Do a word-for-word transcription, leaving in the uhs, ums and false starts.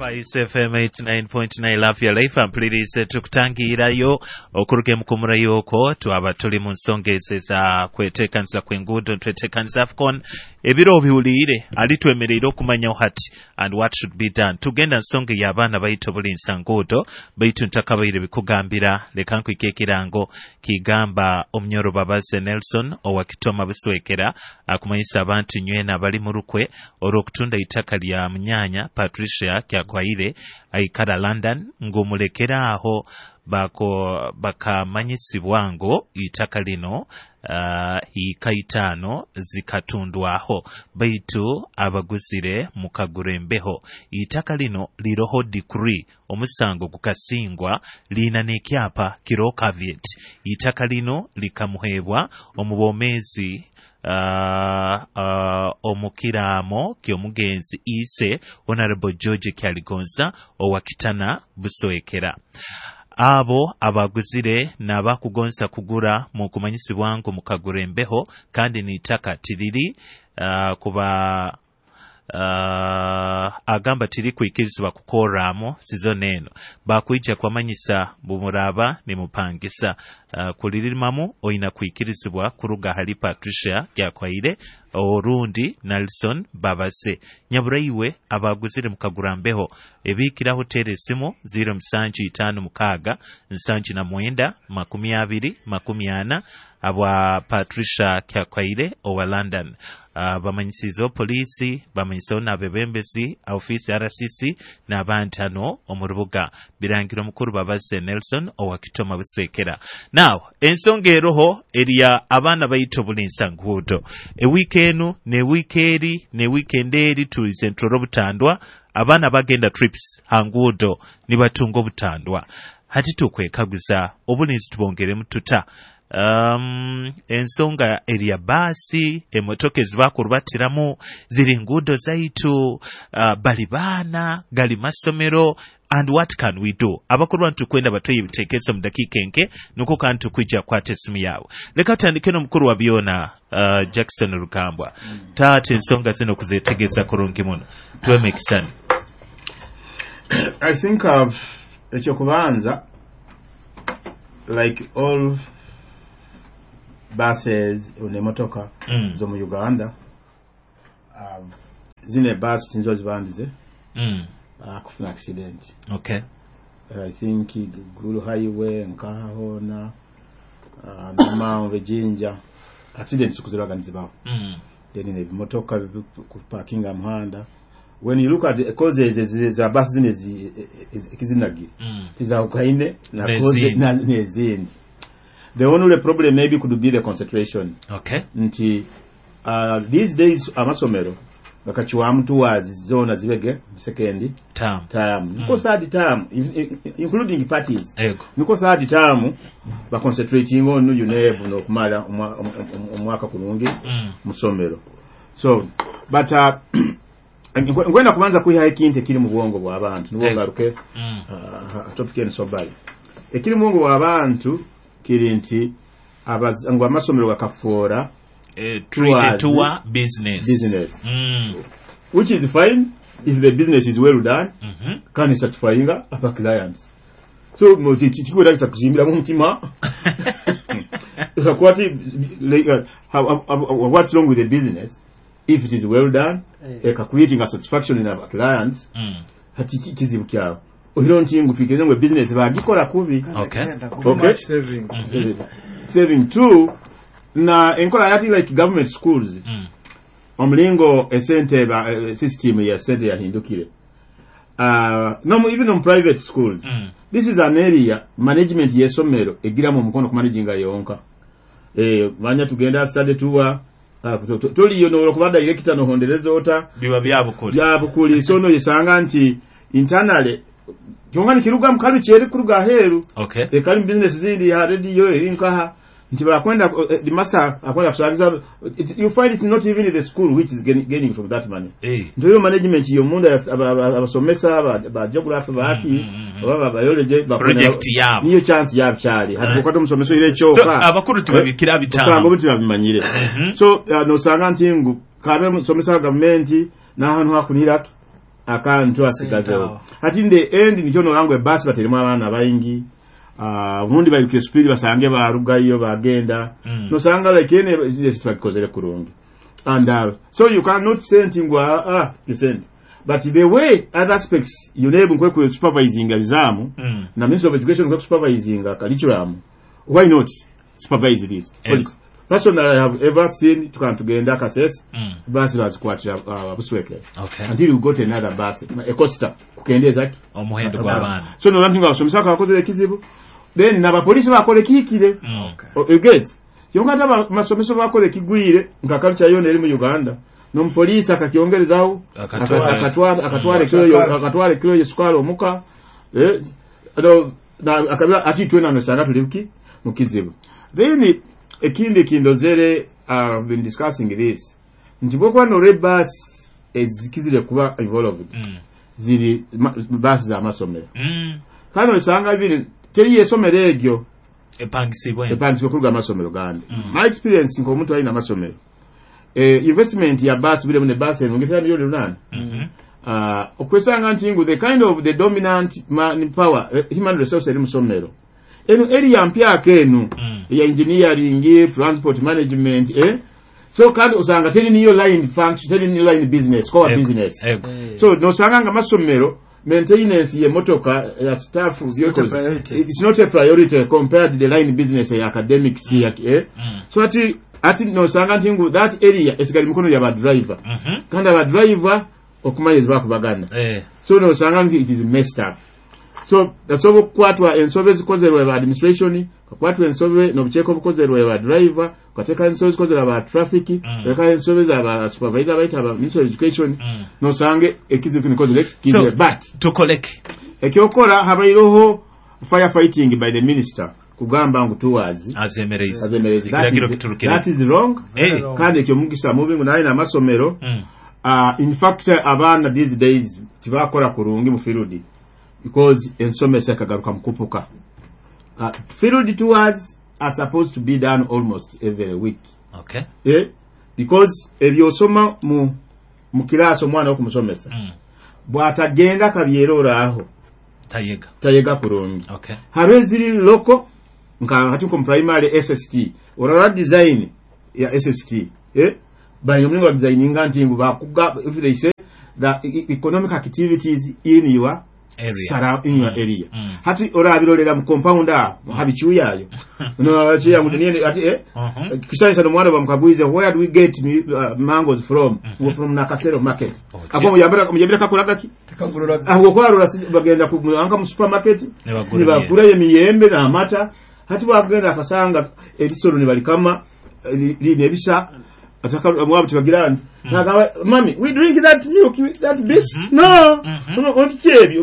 Spice F M eighty-nine point nine, Love Your Life. Mpulirize, tukutangirayo okuruga emukumurayo okwo twaba tuli mu nsonga ezo eza kweteekaniza kw'enguudo, ntweteekaniza AFCON. Ebiro obiwuliire ali twemereire okumanyaho hati and what should be done. Tugenda nsonga ey'abaana baitu obulinsa nguudo, baitu ntakabaire bikugambira, leka nkwika ekirango kigamba omunyoro Babaze Nelson owa Kitoma Buswekera akumanyisa abantu nywena abali mu rukwe olw'okutunda itaka lya munyanya Patricia Kyakwaire aikara London ng'omulekera aho bako bakamanyisibwa ngo itaka lino uh, ika itaano zikatundwaho, baitu abaguzire mukagura embeho. Itaka lino liroho decree, omusango gukasingwa, liina n'ekyapa kiroho caveat. Itaka lino likamuheebwa omu bwomeezi uh, uh, omukiraamo ky'omugenzi ise Honorable George Kyaligonza owa Kitana Buswekera. Abo abaguzire n'abakugonza kugura mu kumanyisibwa ngu mukagura embeho kandi n'itaka tiriri uh, kuba uh, agamba tiri kwikirizibwa kukorramu sizoni eno, bakwija kwamanyisa bumuraba nimupangisa uh, kulirimamu oina kwikirizibwa kuruga hali Patricia Gyakwaire orundi Nelson Babase. Nyaburaiwe abaguzire mukagura mbeho, ebikiraho tera esimu zero musanju itaano mukaaga nsanju na mwenda makumi abiri makumi ana abwa Patricia Kyakwaire owa London. uh, bamanyisizeho poliisi, bamanyisizeho n'abebembezi ofiisi R C C n'abandi hano omu rubuga. Birangira omukuru Babaze Nelson owa Kitoma Buswekera. Now ensonga eroho erya abaana baitu obulinsa nguudo, ewiiki enu newiiki eri ne weekend eri tulize nturora obutandwa, abaana bagenda trips ha nguudo nibatunga obutandwa. Hati tukwekaguza obulinzi tubongeremu tuta? um, ensonga erya baasi, emotoka ezibakurubatiramu ziri nguudo zaitu, uh, bali baana gali masomero, and what can we do? Abakuru bantu tukwenda batoye ebitekerezo mu dakiika enke, nuko kandi tukwija kukwata esimu yawe. Leka tutandike n'omukuru wa byona, uh, Jackson Rugambwa. Taata, ensonga zino kuzetegeeza kurungi muno, tuwe ekisani. I think uh, ekyokubanza, like all buses n'emotoka Mm. z'omu Uganda, um, zino ebasi tinzo zibandize mm. uh, kufuna accident. okay I think Gulu Highway nkaha hona, uh, Namanve, Jinja, accidents kuziraga nizibaho. mm. Then ebimotoka kuparkinga muhanda, when you look at the causes ezi- za basi zino ezi- ezi- ekizinagire Mm. tizawukaine na N'ezindi. causes na- n'ezindi. The only problem maybe could be the concentration okay nti uh, these days amasomero gakakiwamu towards zona zibege second term. Term niko third term, in- in- including parties, ego niko third term baconcentrating on UNEB n'okumala omwa- om- omwaka kulungi mm. musomero. So but uh, nkwenda kubanza kwihayo ekintu ekiri mu bwongo bw'abantu nibwo Ego. ngaruke Mm. uh, topic eno sobali. Ekiri mu bwongo bw'abantu kiri nti abaz- ngu amasomero gakafuura Eh, towards tour business. Business. mm. Which is fine if the business is well done mm-hmm. kandi satisfying aba clients. So mo- ki- ki- kikwetagisa kuzimbiramu omutima kwati like, uh, how, how, how, what's wrong with the business if it is well done, eka creating a satisfaction in our clients? mm. Hati ki- kizibu kyawe ohiro nti ngu twikirize ngu business bagikola kubi. Okay. Okay. Much saving. Mm-hmm. Saving two na enkola yati like government schools, Mm. omulingo esente ba eh, system ya sente yahindukire, uh, no mu- even on private schools, Mm. this is an area management y'essomero egiramu omukono ku managinga yonka. eh, manya tugenda study tour, uh, to- to- toliyo nolwokuba director nohondereza ota. Biba byabukuli. Byabukuli. So no yesanga nti internally kyonga nikiruga mukalu kyeri kuruga aheeru. Okay ekali mu business zindi ya radio eri nkaha nti bakwenda eh, the master akwenda kusagiza it, you find it's not even the school which is gaining, gaining from that money. Eh. Nti oyo management yomunda aba- aba- abasomesa ba, ba geography baki Mm, mm, mm. oba ba biology bakwenda- Project yabo. niyo chance yabo kyali hati Eh. kukwata omusomesa oire So ekyoka abakuru tubabikira osanga bitaano. obuti babimanyire. Mhm. So uh, nosanga nti ngu kabe musomesa wa gavumenti n'ahantu hakuniraki Akantu asigazeho. Sente. Hati in the end nikyo norangwa ebasi bateremu abaana baingi. Ah, obundi bairukire speed, basange barugayo bagenda. Mm. Nosanga like ene yes, twakikozere kurungi and uh, so you cannot say nti ngu ah, ah sente, but the way other aspects U N E B nkwe supervising exam Mm. na Ministry of Education nkwe supervising curriculum, why not supervise this? Ego. Personally, I have ever seen tukantugenda Kasese, Mm. basi bazikwatira uh, Busweke Okay. until we got another bus, a coaster, kukendeeza ki Omuhendo gw'abaana. So nolaba nti nga abasomesa bakozere ekizibu, then n'abapoliisi bakola ekihikire. Mm. O- you get? Kyonka ate amasomeso bakola ekigwire, nka culture yona eri mu Uganda, n'omupoliisi akakyongerezaho. Akatwala. Akatwala, akatwala ekiro yo- akatwala ekiro yesukaali omuka. Eh, no, na- akabira ati twena nosanga tuli ki mu kizibu. Then ekindi kindozere, uh, been discussing this, nti bwokuba nolwa ebaasi ezikizire kuba involved Mm. ziri ma- baasi z'amasomero. Mm. Kandi osanga biri teri esomero eryo Epangisibwe. Epangisibwe kuruga amasomero gandi. Mm. My experience nk'omuntu alina amasomero, eh, investment ya baasi biremu ne baasi eno ngetera miliyoni lunaana. Mhm. uh, okwesanga nti ngu the kind of the dominant man power, eh, human resource eri musomero eno area mpyaka eno Mm. ya engineering, transport management, eh? So kandi osanga teri niyo line function, teri niyo line business, core Ego. business. Ego. So nosanga nga amasomero maintenance yemotoka ya staff It's not a vehicles, priority. It's not a priority compared to the line business ya academics ya, eh? Mm. So ati ati nosanga nti ngu that area esigala mikono ya ba driver. Mhm. Kandi aba driver okumanyiriza bakubagana. Eh. So nosanga nti it is messed up. So asobola okukwatwa ensobe ezikozerwa ba administration, kakwatwa ensobe n'obukyeko obukozerwa ba driver, kateeka ensobe ezikozerwa ba traffic, Mm. kateeka ensobe za supervisor bayita aba Ministry of Education. Mm. Nosange ekizibu kinikozere So kizire, but tukoleke. Ekyokola habaireho firefighting by the minister kugamba ngu tours azemereze. Azemereze. That Ekiragiro is- kiturukire. That is wrong. Eh. Wrong. Kandi ekyo mugisa mubi ngu naye n'amasomero. Mm. uh, in fact abaana these days tibakola kurungi mu field because ensomesa ekagaruka mukupuka. uh, field tours are supposed to be done almost every week. Okay. Eh? Because ebyosoma mu mu kirasi omwana okumusomesa, Mm. bw'atagenda kabyeroraaho, Tayega. tayega kurungi. Okay. Hariho eziri local, nka hati nko mu primary S S T, orora design ya S S T, eh? Bali omulingo designinga nti ngu bakuga, if they say the e- economic activities in your Area. Sara, in your area. Mm. Hati orabirolera mu compound aho habicyuyayo no achiya ngu niye ati eh Mhm. kisanyisa nomwana bamukagwize, "Where do we get uh, mangoes from?" mm -hmm. From Nakasero market." Okay. Ako muyambira muyambira kakolaga ki? Tekagulula. Aho kwarora bagenda ku anka mu supermarket. Ne bagura. Nibagura emiyembe n'amata. Hati bwagenda akasanga ebisolo nibalikama line ebisa ataka mwabo tibagira nti nagamba, "Mami, we drink that milk, that bis." Mhm. No. Mhm. No, ebyo.